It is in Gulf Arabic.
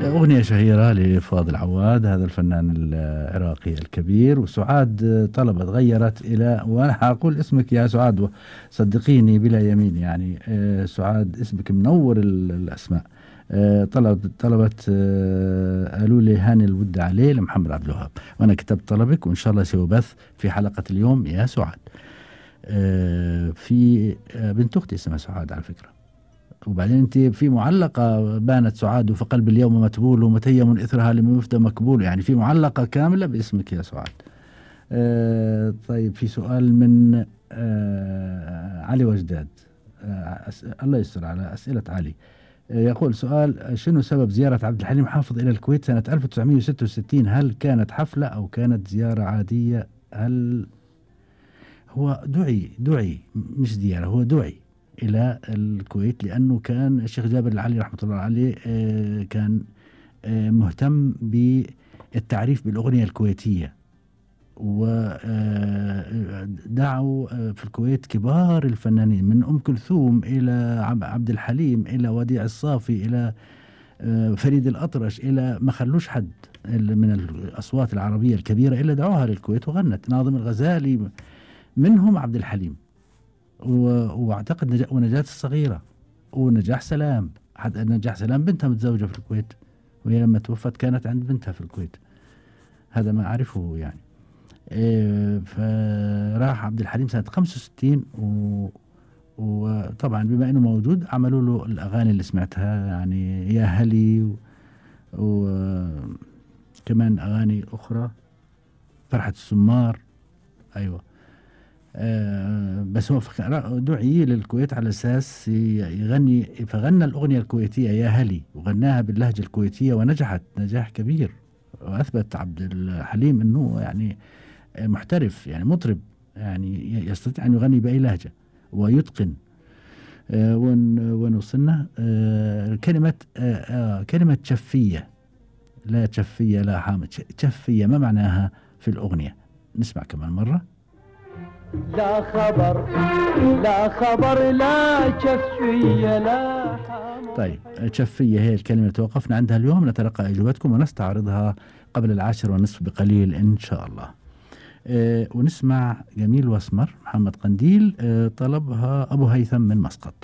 أغنية شهيرة لفاضل عواد، هذا الفنان العراقي الكبير. وسعاد طلبت غيرت إلى، وأنا أقول اسمك يا سعاد صدقيني بلا يمين يعني، سعاد اسمك منور الأسماء. طلبت قالوا لي هاني الود عليه لمحمد عبد الوهاب، وأنا كتبت طلبك وإن شاء الله سيبث في حلقة اليوم يا سعاد. في بنت أختي اسمها سعاد على فكرة. وبعدين انت في معلقة بانت سعاد فقلب اليوم متبول ومتيم اثرها لم يفدى مكبول، يعني في معلقة كاملة باسمك يا سعاد. طيب في سؤال من علي وجداد. الله يستر على أسئلة علي. يقول سؤال: شنو سبب زيارة عبد الحليم حافظ إلى الكويت سنة 1966؟ هل كانت حفلة أو كانت زيارة عادية؟ هل هو دعي مش زيارة، هو دعي إلى الكويت لأنه كان الشيخ جابر العلي رحمة الله عليه كان مهتم بالتعريف بالأغنية الكويتية، ودعوا في الكويت كبار الفنانين من أم كلثوم إلى عبد الحليم إلى وديع الصافي إلى فريد الأطرش، إلى ما خلوش حد من الأصوات العربية الكبيرة إلا دعوها للكويت وغنت. ناظم الغزالي منهم، عبد الحليم، واعتقد ونجاة الصغيرة ونجاح سلام. حتى نجاح سلام بنتها متزوجة في الكويت، وهي لما توفت كانت عند بنتها في الكويت، هذا ما أعرفه يعني. فراح عبد الحليم سنة 65 وطبعا بما أنه موجود عملوا له الأغاني اللي سمعتها، يعني يا هلي وكمان أغاني أخرى، فرحة السمار. أيوة. بس هو دعي للكويت على أساس يغني، فغنى الأغنية الكويتية يا هلي وغناها باللهجة الكويتية ونجحت نجاح كبير، وأثبت عبد الحليم أنه يعني محترف، يعني مطرب، يعني يستطيع أن يغني بأي لهجة ويتقن. ونوصلنا كلمة شفية، لا شفية لا حامد، شفية ما معناها في الأغنية؟ نسمع كمان مرة. لا خبر لا خبر لا شفية لا حامد. طيب شفية هي الكلمة توقفنا عندها اليوم، نتلقى إجابتكم ونستعرضها قبل 10:30 بقليل إن شاء الله. ونسمع جميل واسمر محمد قنديل، طلبها أبو هيثم من مسقط.